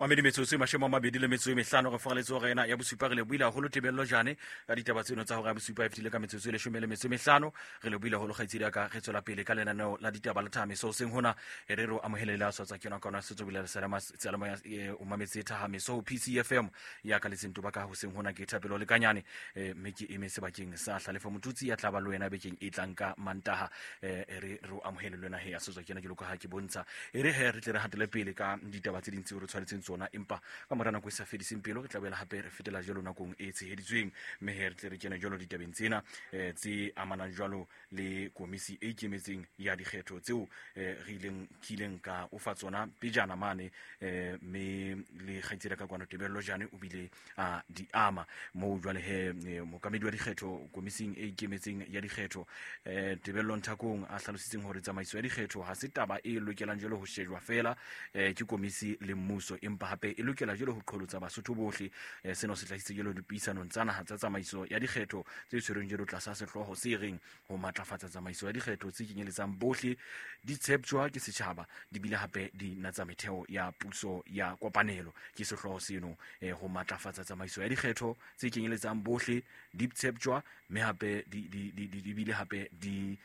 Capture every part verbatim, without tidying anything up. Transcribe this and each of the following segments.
Mamedi metsotso e mashome a mabedi le metso e mehlano re foraletse hora ena ya bosupa. Re lebohile haholo Tebello Jane ka ditaba tseno tsa hora ya bosupa e fetile ka metsotso e leshome le metso e mehlano. Re lebohile haholo kgaitsedi ya ka. Re tswela pele ka lenaneo la ditaba la Thahameso hoseng hona. E re re o amohele le a swatsa ke yona ka ona setso bile seyalemoya o mametse Thahameso ho P C F M ya ka letseng toba ka hoseng hona. Ke Thapelo Lekanyane, mme ke eme sebakeng sa Hlalefo Motutsi ya tla ba le wena bekeng e tlang ka Mantaha. E re re o amohele le wena he ya swatsa ke yona jwalo ka ha ke bontsha. E re he re tle re hatele pele ka ditaba tse ding tseo re tshwanetseng tsona, empa ka mora nako e sa fediseng pelo re tla boela hape re fetela jwalo nakong e tsheheditsweng, mme he re tle re kene jwalo ditabeng tsena, eh, tse amanang jwalo le komisi e ikemetseng ya dikgetho tseo, eh, re ileng, ke ileng ka o fa tsona pejana mane, eh, mme le kgaitsedi ka kwano Tebello Jane o bile a di ama moo. Jwale he, eh, mookamedi wa dikgetho komising e ikemetseng ya dikgetho, eh, Tebello Nthakong a hlalositseng hore tsamaiso ya dikgetho ha se taba e lokelang jwalo ho shejwa fela, eh, ke komisi le mmuso, empa hape e lokela jwalo ho qholotsa Basotho bohle. Eh, sena se hlahisitse jwalo dipuisanong tsa naha tsa tsamaiso ya dikgetho tse tshwerweng jwalo tlasa sehlooho se reng ho matlafatsa tsamaiso ya dikgetho tse kenyeletsang bohle, di tsheptjwa ke setjhaba, di bile hape di natsa metheo ya puso ya kopanelo. Ke sehlooho seno, eh, ho matlafatsa tsamaiso ya dikgetho tse kenyeletsang bohle, di tsheptjwa mme hape di, di, di, di, di bile hape di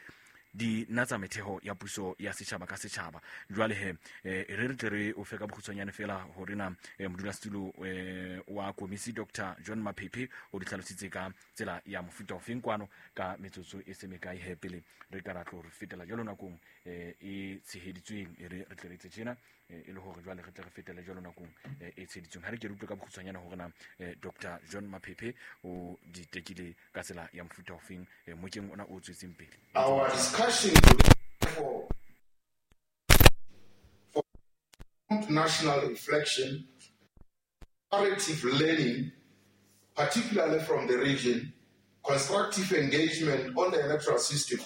di natsa metheo ya puso ya setjhaba ka setjhaba. Jwale he, eh, re re tle re o fe ka bokgutshwanyane fela hore na, eh, modulasetulo, eh, wa komisi Doctor John Maphephe o di hlalositse ka tsela ya mofuta ofeng kwano ka metsotso e se mekae he pele re ka ra tlo re fetela jwalo nakong, eh, e tsheheditsweng. E re re tle re etse tjena, eh, e le hore jwale re tle re fetele jwalo nakong, eh, e tsheheditsweng. Ha re ke re utlwe ka bokgutshwanyane hore na, eh, Doctor John Maphephe o di tekile ka tsela ya mofuta ofeng, eh, mokeng ona o tswetseng pele. Our discussion for national reflection, comparative learning, particularly from the region, constructive engagement on the electoral system,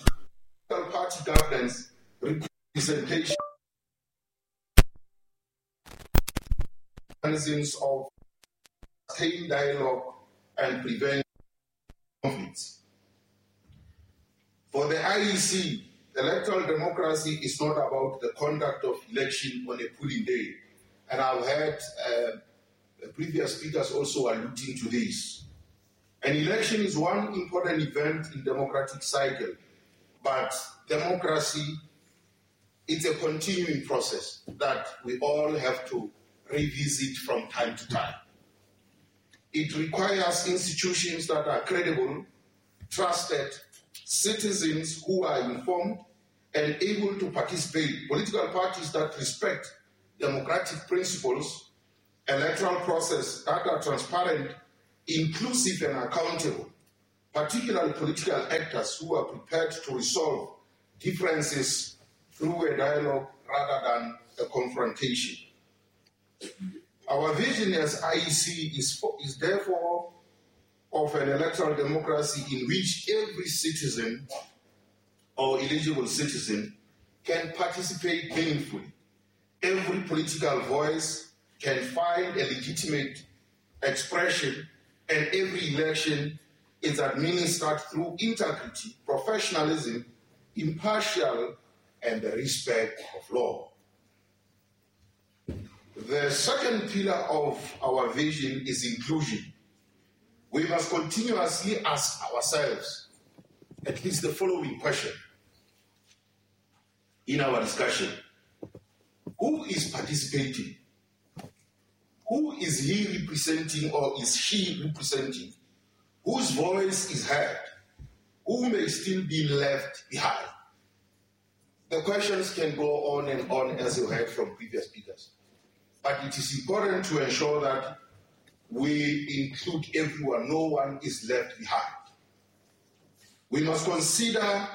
party governance, representation, mechanisms of sustained dialogue and prevent conflicts. For the I E C, electoral democracy is not about the conduct of election on a polling day. And I've heard, uh, the previous speakers also alluding to this. An election is one important event in democratic cycle, but democracy, it's a continuing process that we all have to revisit from time to time. It requires institutions that are credible, trusted, citizens who are informed and able to participate, political parties that respect democratic principles, electoral process that are transparent, inclusive and accountable, particularly political actors who are prepared to resolve differences through a dialogue rather than a confrontation. Our vision as I E C is, for, is therefore of an electoral democracy in which every citizen or eligible citizen can participate meaningfully. Every political voice can find a legitimate expression, and every election is administered through integrity, professionalism, impartial, and the respect of law. The second pillar of our vision is inclusion. We must continuously ask ourselves at least the following question in our discussion. Who is participating? Who is he representing or is she representing? Whose voice is heard? Who may still be left behind? The questions can go on and on, as you heard from previous speakers. But it is important to ensure that we include everyone. No one is left behind. We must consider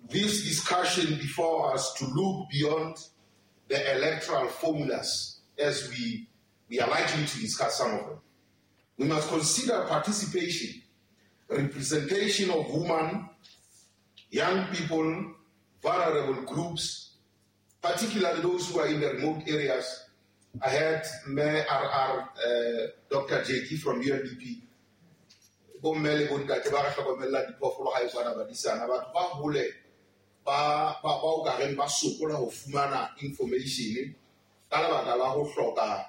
this discussion before us to look beyond the electoral formulas, as we, we are likely to discuss some of them. We must consider participation, representation of women, young people, vulnerable groups, particularly those who are in the remote areas. I heard Mayor R R, uh, Doctor J K from U N D P. Bomme le bontate ba re hlokomella diphoofolo ha e tshwana badisana. Batho ba hole, ba, ba, ba o ka reng ba sokola ho fumana information ka lebaka la ho hloka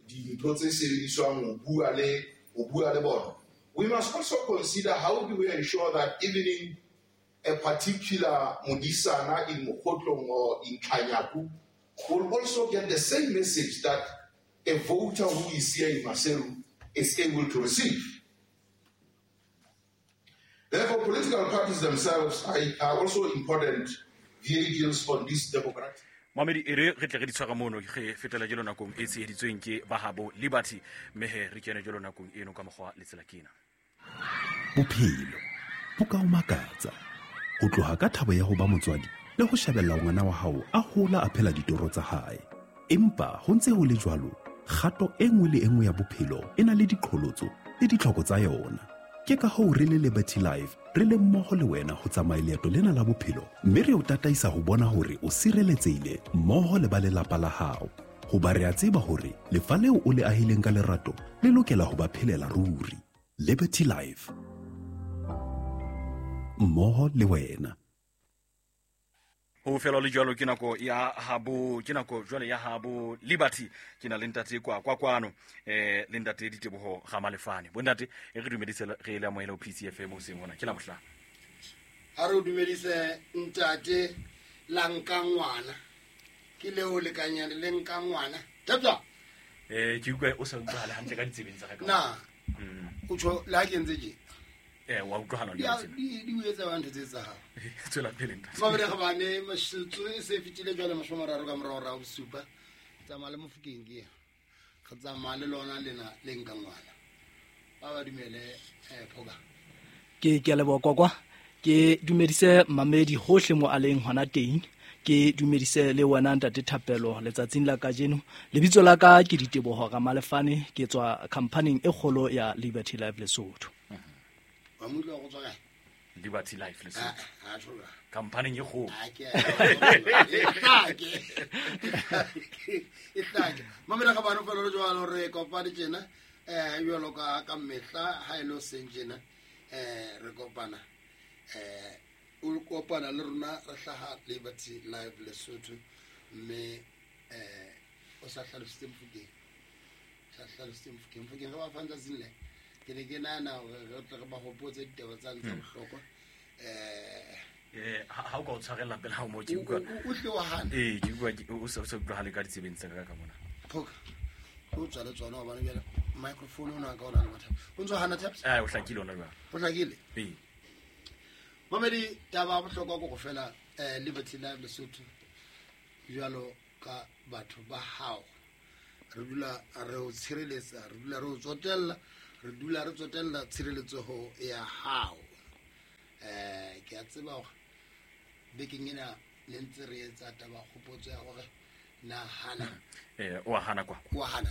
dintho tse sebediswang ho bua le ho bua le bona. We must also consider how do we ensure that even in a particular modisana in Mokhotlong or in Kanyaku will also get the same message that a voter who is here in Maseru is able to receive. Therefore, political parties themselves are, are also important vehicles on this democratic. Mamedi e re re tle re di tshwara mono re fetela jelo nakong e tsheheditsweng ke Bahabo Liberty mme he re kene jelo nakong eno ka mokgwa le tsela kena. Bophelo bo ka o makatsa ho tloha ka thabo ya ho ba motswadi le ho shebella ngwana wa hao a hola a phela ditoro tsa hae. Empa ho ntse ho le jwalo, kgato e nngwe le e nngwe ya bophelo e na le diqholotso le ditlhoko tsa yona. Ke ka hoo re le Liberty Life re le mmoho le wena ho tsamaya leeto lena la bophelo mme re o tataisa ho bona hore o sireletsehile mmoho le ba lelapa la hao. Hoba re a tseba hore lefa leo o le ahileng ka lerato le lokela ho ba phelela ruri. Liberty Life, mmoho le wena. Ho fela le jwalo ke nako ya habo ke nako jwale ya habo Liberty ke na le ntate kwa kwa kwano eh le ntate Diteboho ga Malefane. Bo ntate e re dumedise re le amohela ho P C F M o seng hona ke la bohlano. Ha re dumedise ntate la nka ngwana ke leo le kanyane le nka ngwana. Tabza eh ke utlwa o sa utlwala hantle ka ditsebeng tsa ka. Na o tjho la ke ntse ke eh wa utlwahala le tsena di di etsa ba ntho tse tsa hao tswela pele ntate mabere ga bane mashitso e se fitile jwale mashome a mararo ka morao ra bosupa tsamaya le Mofokeng ke re tsamaya le lona lena le nka ngwana ba ba dumele eh phoka ke ke a leboha kwakwa ke dumedise mamedi hohle mo a leng hona teng ke dumedise le wena ntate Thapelo letsatsing la kajeno. Lebitso la ka ke Diteboho ga Malefane ke tswa company e kgolo ya Liberty Life Lesotho. Wa mo utlwa go tswa kae? Liberty Life Lesotho. Ah, thola. Company e kgolo. Ah, ke. E hlake. E hlake. Mamela ga bana fela le jwalo re kopane tjena eh jwalo ka ka mehla ha ile seng tjena eh re kopana eh o kopana le rona re hlaha Liberty Life Lesotho mme eh o sa hlalositse Mofokeng. Sa hlalositse Mofokeng. Mofokeng re ba fa ntsatsing le. Ke ne ke nahana hore re tle re ba hopotse ditaba tsa tsa bohlokwa eh eh ha o ka o tshwarella pele ha o mo ke utlwa o tle wa hana eh ke utlwa o sa o utlwahale ka ditsebeng tsa ka ka mona phoka o tswa le tsona hobane jwale microphone ona ka ona le mathata o ntso hana taps eh o hlakile ona jwale o hlakile ee mamedi taba ya bohlokwa ke go fela eh Liberty Life Lesotho jwalo ka batho ba hao re dula re o tshireletsa re dula re o tsotella re dula re tsotella tshireletseho ya hao. Eh ke a tseba hore bekeng ena le ntse re etsa taba kgopotso ya hore na hana eh o hana kwa o hana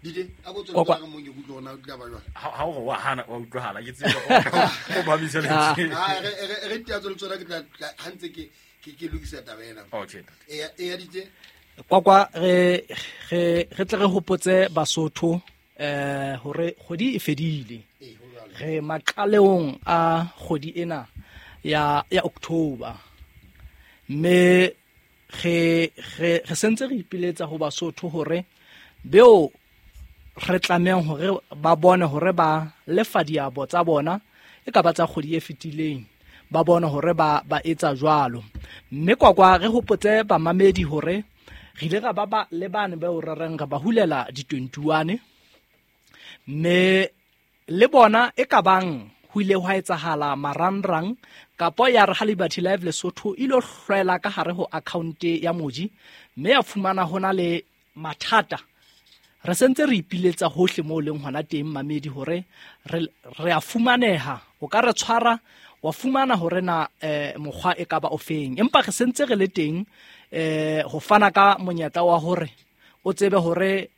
dide a go tswela ka mo ke utlwa ona o tla ba jwang ha o wa hana wa utlwahala ke tseba o ba bitsa le ha re re tia tswela tsona ke tla ha ntse ke ke ke lokisa taba ena. Okay e e dite kwa kwa re re re tle re hopotse Basotho eh hore kgwedi e fedile re maqaleong a kgwedi ena ya ya October mme re re re sentse re ipiletsa ho Basotho hore beo re tlamehang hore ba bone hore ba lefa diabo tsa bona e ka ba tsa kgwedi e fetileng ba bone hore ba ba etsa jwalo mme kwa kwa re hopotse bamamedi hore re ile ra ba ba le bane ba o rereng re ba hulela di twenty-one mme le bona e ka bang ho ile hwa etsahala marangrang kapo ya re ha Liberty Life Lesotho ile hlwela ka hare ho account ya moji mme ya fumana hona le mathata. Re sentse re ipiletsa hohle mo leng hona teng mamedi hore re re a fumaneha o ka re tshwara wa fumana hore na eh, mokgwa e ka ba ofeng empa re sentse re le teng eh ho fana ka monyetla wa hore o tsebe hore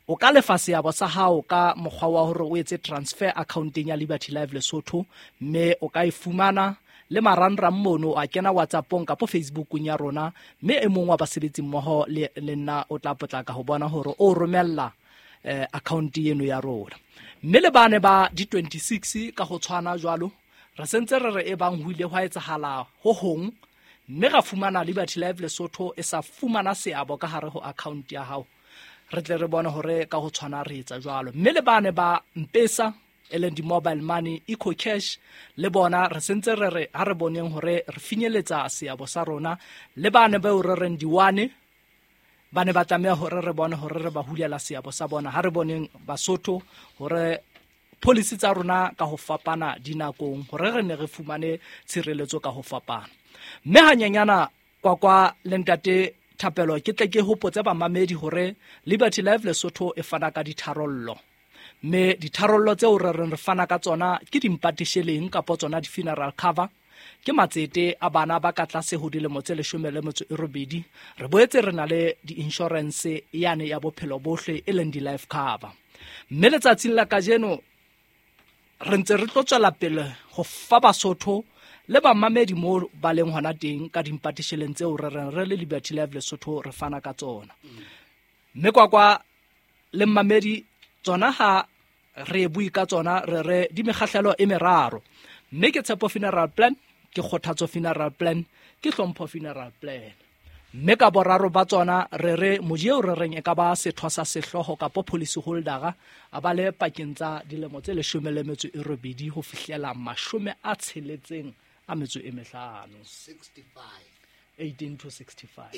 o ka lefa seabo sa hao ka mokgwa wa hore o etse transfer accounteng ya Liberty Life Lesotho mme o ka e fumana le marangrang mono a kena WhatsAppong kapo Facebookong ya rona mme e mong wa basebetsi mmoho le le nna o tla potlaka ho bona hore o romella eh, account eno ya rona mme le bane ba di twenty-six ka ho tshwana jwalo re sentse re re e bang ho ile hwa etsahala ho hong Mme ra fumana Liberty Life Lesotho e sa fumana seabo ka hare ho account ya hao, re tle re bone hore ka ho tshwana re etsa jwalo. Mme le bane ba M-Pesa e leng di-mobile money, Eco Cash, le bona re sentse re re ha re boneng hore re finyeletsa seabo sa rona. Le bane bao re reng diwane ba ne ba tlameha hore re bone hore re ba hulela seabo sa bona. Ha re boneng Basotho hore policy tsa rona ka ho fapana dinakong hore re ne re fumane tshireletso ka ho fapana. Mme hanyenyana kwa kwa le ntate Thapelo ke tle ke hopotse bamamedi hore Liberty Life Lesotho e fana ka ditharollo. Mme ditharollo tseo re reng re fana ka tsona ke dimpatisheleng kapa tsona di-funeral cover, ke matsete a bana ba ka tlase ho dilemo tse leshome le metso e robedi. Re boetse re na le di-insurance yane ya bophelo bohle e leng di-life cover. Mme letsatsing la kajeno re ntse re tlo tswela pele ho fa Basotho le bamamedi mo ba leng hona teng ka dimpatisheleng tseo re reng re le Liberty Life Lesotho re fana ka tsona. Mme kwa kwa le mmamedi tsona ha re bue ka tsona re re di mekgahlelo e meraro. Mme ke Tshepo Funeral Plan, ke Kgothatso Funeral Plan, ke Hlompho Funeral Plan. Mme ka boraro ba tsona re re moji eo re reng e ka ba setho sa sehlooho kapa policy holdera a ba le pakeng tsa dilemo tse leshome le metso e robedi ho fihlela mashome a tsheletseng a metso e mehlano, eighteen to sixty-five.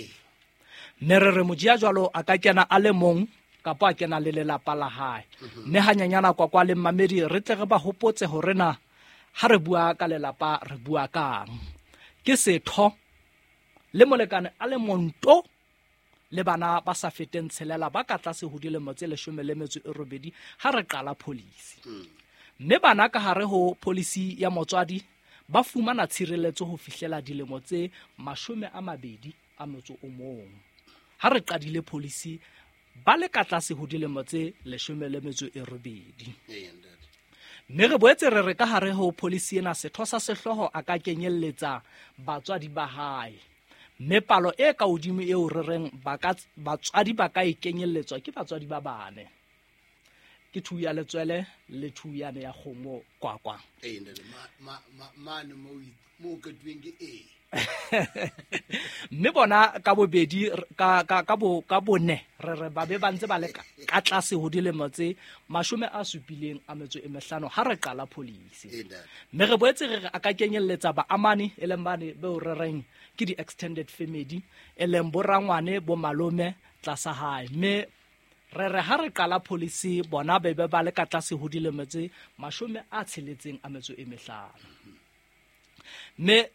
Mme re re moji ya jwalo a ka kena a le mong kapa a kena le lelapa la hae. Mme hanyenyana kwa kwa le mmamedi re tle re ba hopotse hore na ha re bua ka lelapa re bua kang. Ke setho le molekane a le monto le bana ba sa feteng tshelela ba ka tlase ho dilemo tse leshome le metso e robedi ha re qala policy. Mme bana ka hare ho policy ya motswadi ba fumana tshireletso ho fihlela dilemo tse mashome a mabedi a motso o mong. Ha re qadile policy ba le ka tlase ho dilemo tse leshome le metso e robedi. Mme re boetse re re ka hare ho policy ena setho sa sehlooho a ka kenyelletsa batswadi ba hae. Mme palo e ka hodimo eo re reng ba ka batswadi ba ka e kenyelletswa ke batswadi ba bane. Ke two ya letswele le two yane ya kgomo kwa kwa. Eh ntate ma ma mane mo mo ketueng ke e. Mme bona ka bobedi ka ka ka bo ka bone re re ba be ba ntse ba le ka tlase ho dilemo tse mashome a supileng a metso e mehlano ha re qala policy. Mme re boetse re re a ka kenyelletsa ba amane e leng bane beo re reng ke di extended family e leng bo rangwane bo malome tlasa hae. Mme re re ha re qala policy bona be be ba le ka tlase ho dilemo tse mashome a tsheletseng a metso e mehlano. Mme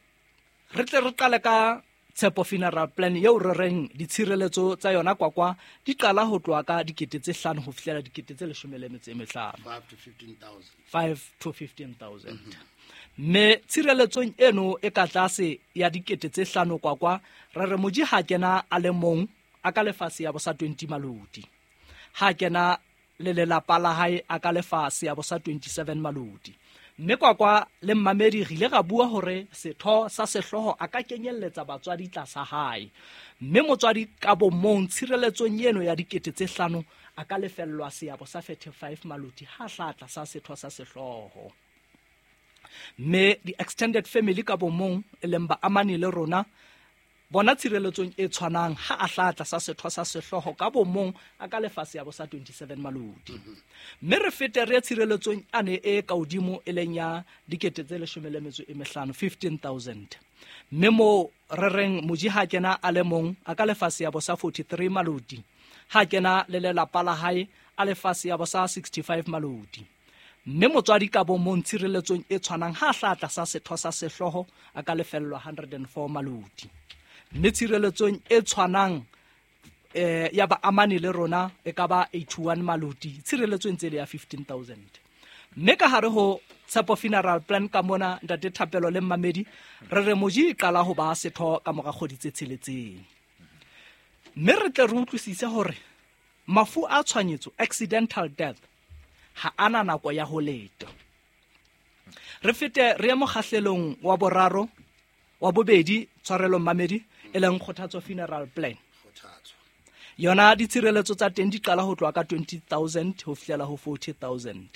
re tle re qale ka Tshepo Funeral Plan eo re reng ditshireletso tsa yona kwa kwa di qala ho tloha ka dikete tse hlano ho fihlela dikete tse leshome le metso e mehlano, five to fifteen thousand. five to fifteen thousand. Mme tshireletsong eno e ka tlase ya dikete tse hlano kwa kwa re re moji ha kena a le mong a ka lefa seabo sa twenty maloti. Ha kena le lelapa la hae a ka lefa seabo sa twenty-seven maloti. Mme kwa kwa le mmamedi re ile ra bua hore setho sa sehlooho a ka kenyelletsa batswadi tlasa hae. Mme motswadi ka bo mong tshireletsong eno ya dikete tse hlano a ka lefellwa seabo sa thirty-five maloti ha hla tlasa setho sa sehlooho. Mme di-extended family ka bo mong e leng ba amane le rona bona tshireletsong e tshwanang ha a hla tlasa setho sa sehlooho ka bo mong a ka lefa seabo sa twenty-seven maloti. Mme re fete re tshireletsong ane e ka hodimo e leng ya dikete tse leshome le metso e mehlano, fifteen thousand. Mme mo re reng moji ha kena a le mong a ka lefa seabo sa forty-three maloti. Ha kena le lelapa la hae a lefa seabo sa sixty-five maloti. Mme motswadi ka bo mong tshireletsong e tshwanang ha hla tlasa setho sa sehlooho a ka lefellwa one hundred four maloti. Mme tshireletsong e tshwanang eh ya ba amane le rona e ka ba eighty-one maloti tshireletsong tse le ya fifteen thousand. Mme ka hare ho Tshepo Funeral Plan ka mona ntate Thapelo le mmamedi re re moji e qala ho ba setho ka mora kgwedi tse tsheletseng. Mme re tle re utlwisise hore mafu a tshwanyetso accidental death ha ana nako ya ho leta. Re fete re ye mokgahlelong wa boraro wa bobedi tshwarelo mmamedi e leng Kgothatso Funeral Plan. Kgothatso. Yona ditshireletso tsa teng di qala ho tloha ka twenty thousand ho fihlela ho forty thousand.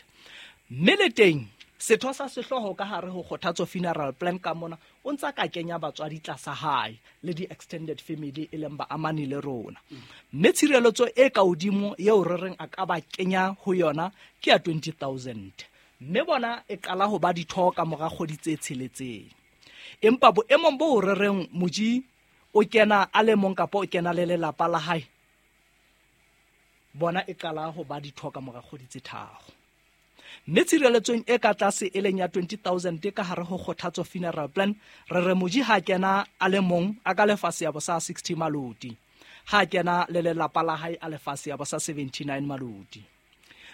Mme le teng Setho sa sehlooho ka hare ho Kgothatso Funeral Plan ka mona o ntsa ka kenya batswadi tlasa hae le di-extended family e leng baamani le rona. Mme tshireletso e ka hodimo eo re reng a ka ba kenya ho yona ke ya twenty thousand. Mme bona e qala ho ba ditho ka mora kgwedi tse tsheletseng. Empa boemong bo re reng moji o kena a le mong kapa o kena le lelapa la hae, bona e qala ho ba ditho ka mora kgwedi tse tharo. Mme tshireletsong e ka tlase e leng ya twenty thousand ka hare ho Kgothatso Funeral Plan, re re moji ha kena a le mong a ka lefa seabo sa sixty maloti, ha kena le lelapa la hae a lefa seabo sa seventy-nine maloti.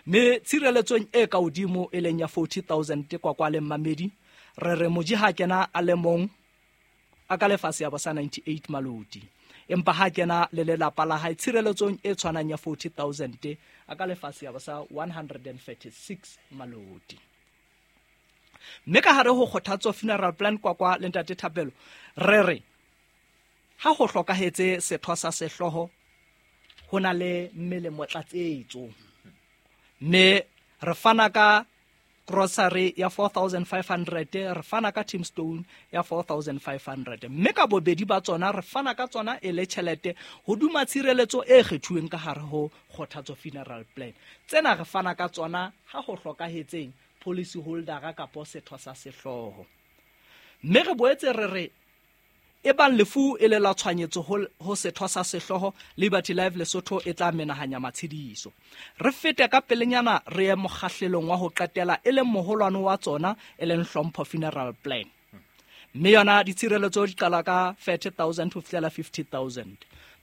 Mme tshireletsong e ka hodimo e leng ya forty thousand kwa kwa le mmamedi, re re moji ha kena a le mong a ka lefa seabo sa ninety-eight maloti. Empa ha kena le lelapa la hae tshireletsong e tshwanang ya forty thousand a ka lefa seabo sa one hundred thirty-six maloti. Mme ka hare ho Kgothatso Funeral Plan kwa kwa le ntate Thapelo, re re ha ho hlokahetse setho sa sehlooho ho na le melemo tlatsetso. Mme re fana ka grocery ya four thousand five hundred, re fana ka tombstone ya four thousand five hundred. Mme ka bobedi ba tsona re fana ka tsona e le tjhelete hodima tshireletso e kgethuweng ka hare ho Kgothatso Funeral Plan. Tsena re fana ka tsona ha ho hlokahetseng policy holder kapo setho sa sehlooho. Mme re boetse re re ebang lefu e le la tshwanyetso ho setho sa sehlooho, Liberty Life Lesotho e tla menahanya matshediso. Re fete ka pelenyana re ye mokgahlelong wa ho qetela e leng moholwane wa tsona e leng Hlompho Funeral Plan. Mme yona ditshireletso di qala ka thirty thousand ho fihlela fifty thousand.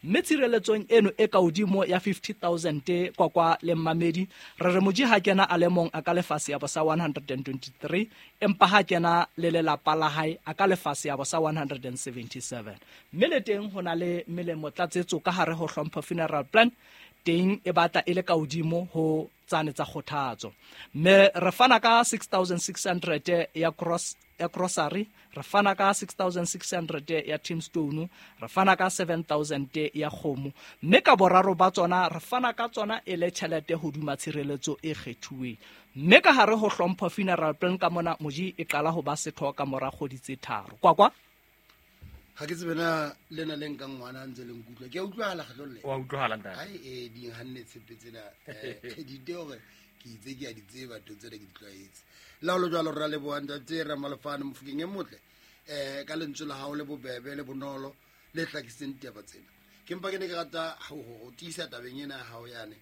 Mme tshireletsong eno e ka hodimo ya fifty thousand kwa kwa le mmamedi, re re moji ha kena a le mong a ka lefa seabo sa one hundred twenty-three, empa ha kena le lelapa la hae a ka lefa seabo sa one hundred seventy-seven. Mme le teng ho na le melemo tlatsetso ka hare ho Hlompho Funeral Plan, teng e batla e le ka hodimo ho tsane tsa Kgothatso. Mme re fana ka six thousand six hundred ya cross ya grocery, re fana ka six thousand six hundred ya tombstone, re fana ka seven thousand ya kgomo. Mme ka boraro ba tsona re fana ka tsona e le tjhelete hodima tshireletso e kgethuweng. Mme ka hare ho Hlompho Funeral Plan ka mona moji e qala ho ba setho ka mora kgwedi tse tharo. Kwa kwa ha ke tsebe na lena le nkang ngwana a ntse le nkutlwa. Ke a utlwahala kgetlo le. Wa utlwahala ntate. Ai e di hanne tshepe tsena eh di hore ke itse ke a di tseba to tsena ke di tlwaetse. La ho jwalo re leboha ntate Ramalefane Mofokeng e motle eh ka lentswe la hao le bobebe le bonolo le hlakiseng ditaba tsena. Ke mpa ke ne ke rata ho ho tiisa tabeng ena ya hao yane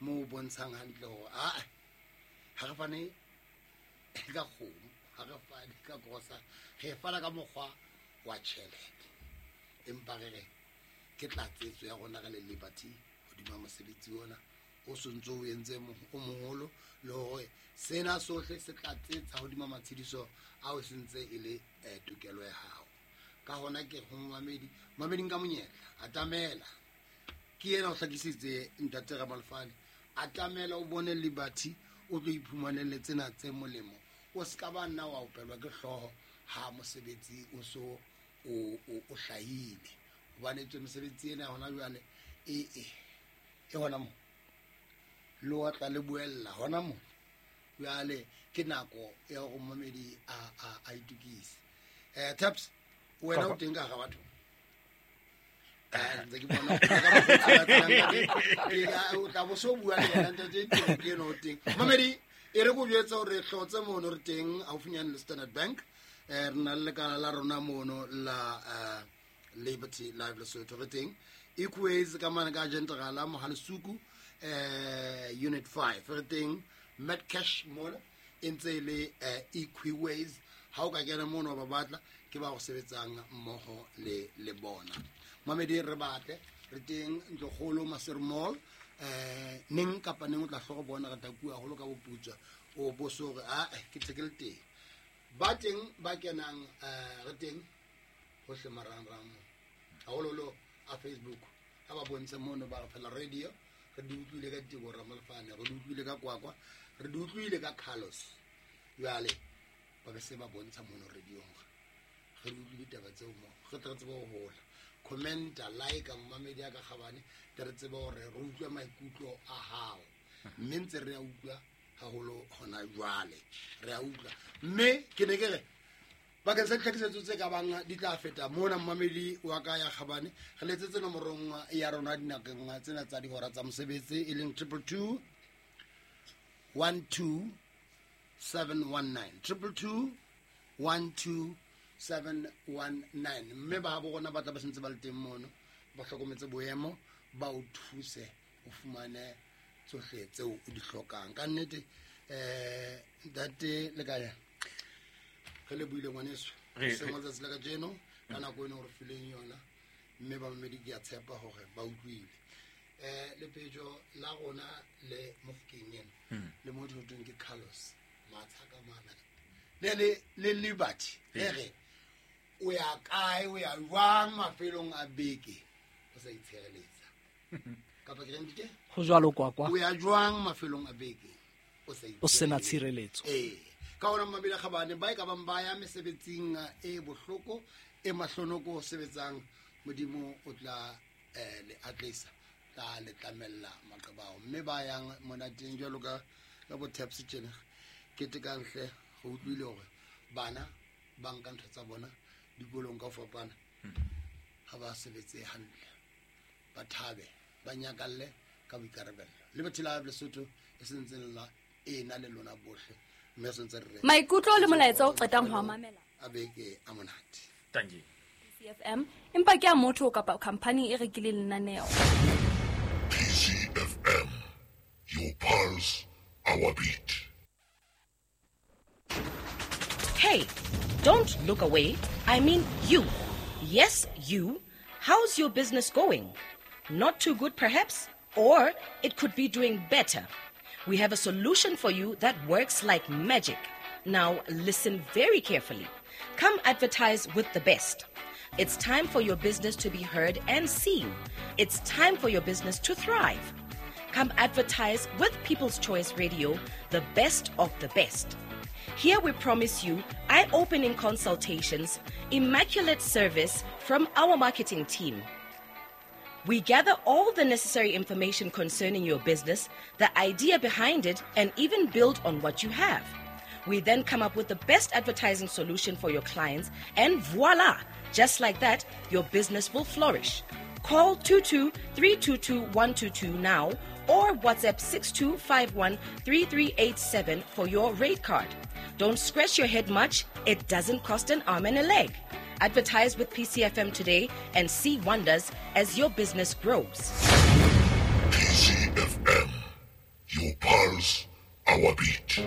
mo bontshang hantle hore a ha re fane ka kgomo, ha re fane ka grosa, re fana ka mokgwa wa tjhelete. Empa re re ke tlatsetso ya rona re le Liberty hodima mosebetsi ona o sontso o entse o moholo le hore sena sohle se tlatsetsa hodima matshediso ao sentse e le tokelo ya hao. Ka hona ke ho mamedi, mamedi nka monyetla atamela ke yena o hlakisitse ntate Ramalefane, atamela o bone Liberty o tlo iphumanele tsena tse molemo. O ska ba nna wa opelwa ke hlooho ha mosebetsi o so o o hlahile, hobane tswe mosebetsi ena hona jwale e e e hona mo lo tla le buella hona mo jwale ke nako ya hore momedi a a a itukise. Eh Taps, wena o teng ka ga batho eh ntse ke bona ka o tla bo so bua le yena ntate ke eno o teng. Momedi e re go jwetsa hore hlotse mono re teng haufinyane le Standard Bank. Eh re na le lekala la rona mono la Liberty Life Lesotho re teng Equays ka mane ka General Mohalesuku eh unit five re teng Medcash mona e ntse le Equiways. Ha o ka kena mono ba batla ke ba go sebetsang mmoho le le bona. Mamedi re batle re teng Ntlokgolo Maseru Mall eh neng kapa neng o tla hloka bona re takuwa haholo ka boputswa o bo so re a ke tle ke le teng. Ba teng ba kenang eh re teng hohle marangrang haholoholo a Facebook ha ba bontshe mono ba re phela radio re di utlwile ka Tebo Ramalefane, re di utlwile ka Kwakwa, re di utlwile ka Carlos. Jwale ba be se ba bontsha mono radio re di utlwile ditaba tseo mo re tle re tsebe ho hola. Commenta, like mamedi ya ka kgabane tle re tsebe hore re utlwe maikutlo a hao, mme ntse re a utlwa haholo hona jwale. Re a utlwa. Mme ke ne ke re bakeng sa ditlhakisetso tse ka bang di tla feta mona mmamedi wa ka ya Kgabane, re letsetse nomorong ya rona dinakeng tsena tsa dihora tsa mosebetsi e leng triple two one two seven one nine, triple two one two seven one nine. Mme ba bo rona ba tla ba sentse ba le teng mono, ba hlokometse boemo, ba o thuse o fumane tsohle tseo o di hlokang. Ka nnete eh ntate le kae re le buile ngwaneso se letsatsi la kajeno ka nako eno re fileng yona, mme ba mamedi ke a tshepa hore ba utlwile. Eh lepetjo la rona le Mofokeng ena le motho ho thweng ke Carlos Matshaka mana le le le Liberty e re o ya kae o ya jwang mafelong a beke o sa itshireletsa kapa ke reng ke ho jwalo kwa kwa o ya jwang mafelong a beke o sa o sena tshireletso. Eh ka ona mabile Kgabane ba e ka bang ba ya mesebetsing e bohloko e mahlonoko sebetsang, Modimo o tla eh le atlisa tla le tlamella maqebao. Mme ba yang monateng jwalo ka ka bo taps tjena ke tekanhle go utlwile hore bana ba nka ntho tsa bona dikolong ka fapana ha ba sebetse hantle, ba thabe ba nyakalle ka boikarabelo. Le Liberty Live Lesotho e sentse la ena le lona bohle mme sentse re maikutlo le molaetsa o qetang ho mamela a beke a monate. Thank you. C F M empa ke a motho kapa company e rekileng lenaneo. P C F M, your pulse, our beat. Hey, don't look away. I mean you. Yes, you. How's your business going? Not too good, perhaps? Or it could be doing better. We have a solution for you that works like magic. Now, listen very carefully. Come advertise with the best. It's time for your business to be heard and seen. It's time for your business to thrive. Come advertise with People's Choice Radio, the best of the best. Here we promise you eye-opening consultations, immaculate service from our marketing team. We gather all the necessary information concerning your business, the idea behind it, and even build on what you have. We then come up with the best advertising solution for your clients, and voila! Just like that, your business will flourish. Call two two three two two one two two now or WhatsApp six two five one three three eight seven for your rate card. Don't scratch your head much. It doesn't cost an arm and a leg. Advertise with P C F M today and see wonders as your business grows. P C F M, your pulse, our beat.